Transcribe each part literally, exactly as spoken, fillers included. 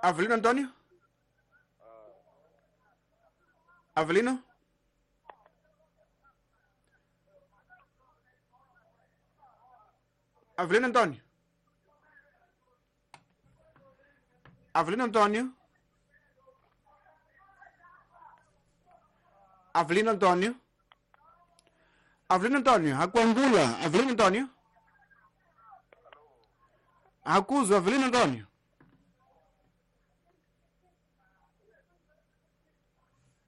Avelino Antônio? Avelino? Avelino Antônio? Avelino Antônio? Avelino Antônio? Avelino Antônio, Akwangula, Avelino Antônio? Acuso Avelino Antônio?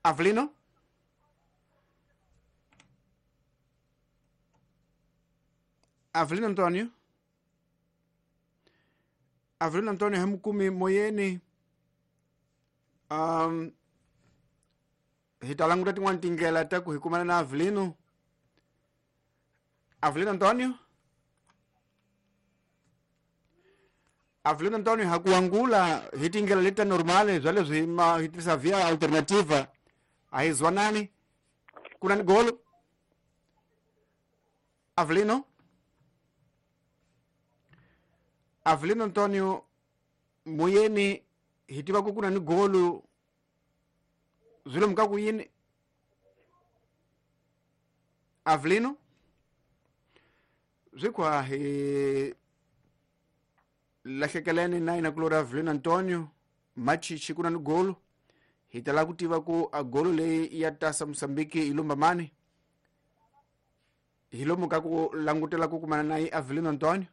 Avelino? Avelino Antônio? Avelino Antônio hemukumi moyeni. Um, hi ta languta tin'wana tindlela ta ku hi kumana na Avelino. Avelino Antônio? Avelino Antônio ha ku angula hi tindlela leti ta normale bya leswi ma hi tirhisa via alternativa a hi zwanani ku na ni golo. Avelino? Avelino Antônio moyeni hi tiva ku ku na ni golo swi lomu ka ku yini. Avelino swi kwa hi lahlekelene na yena kulori Avelino Antônio Machichi ku na ni golo. Hi ta lava ku tiva ku a golo leyi ya tasa Mozambique yi lumba mani. Hi lomu ka ku langutela ku kumana na yi Avelino Antônio.